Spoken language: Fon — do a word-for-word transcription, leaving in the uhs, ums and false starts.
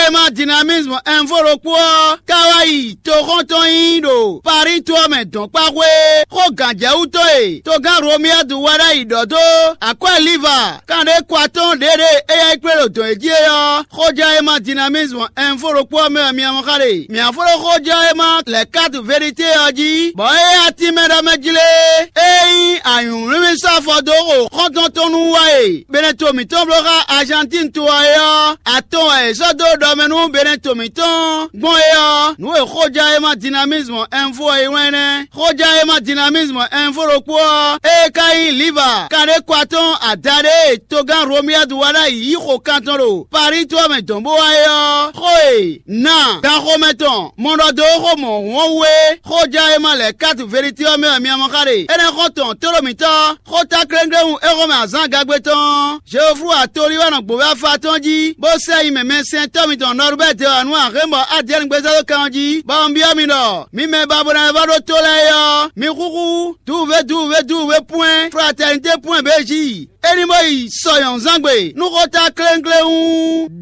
Ema Dynamisme Info ɖokpó ɔ́ ka wá yi toxɔ́ntɔn nyi ɖo Paris to ɔ́ mɛ dɔ̌nkpáxwé xó gǎnjɛwú tɔn e togán Romuald Wadagni ɖɔ dó akwɛ́ Liva kanɖé kwatɔ́n ɖěɖée é yá yi kplé ɖo dɔ̌n e jí é ɔ́, xójɛ́ Ema Dynamisme Info ɖokpó ɔ́ mɛ wɛ mi mɔ xá ɖe. Mǐ fó ɖó xójɛ́ Ema lɛ̌ kátu Verité ɔ́ jí, bɔ é yá tínmɛ ɖɔ mɛ jlé é nyí anyǔmlímí sɔ́ afɔ dó xo xɔ́ntɔn tɔn nú wá e Beneto mǐtɔn bló xá Argentine to ɔ́ é ɔ́, atɔn wɛ è sɔ́ dó ɖɔ mɛ nú Beneto mǐtɔn gbɔn é ɔ́, nǔ e xójɛ́ Ema Dynamisme Info ɔ́ yi wlán nɛ́. Xójɛ́ Ema Dynamisme Info ɖokpó ɔ́, ée ka nyí Liva kanɖé kwatɔ́n adaɖé e togán Romuald Wadagni yí xo kan tɔn ɖo Paris to ɔ́ mɛ dɔ̌n bó wá é ɔ́, xó e na ganxomɛ tɔn mɔ ɖɔ dó xó mɔ̌hun ɔ́ wú é, xójɛ́ Ema lɛ̌ kátu Verité ɔ́ mɛ wɛ mi mɔ xá ɖe. Énɛ́ xɔ́ntɔn tlóló mǐtɔn xó ta kléŋglé wú é xɔ́mɛ azǎn gagbé tɔn. Jehofu atolí wɛ nɔ gbǒ wɛ afa tɔn jí, bó sɛ́ yi mɛ mɛsɛntɔ́ mitɔn Nɔrubɛ́ de wǎ nú axémbɔ Adiɛ́ni gbézá dó kan ɔ́ jí, bɔ un byɔ́ mi ɖɔ: mi mɛ ba bo ná wá ɖó tó lɛ́ɛ é ɔ́, mi xúxú duwuvé duwuvé duwuvé pwɛ́n fratɛnité pwɛ́n béjí. É ní bó yi sɔ nyɔ̌nzángbe nú xó ta kléŋkléŋ.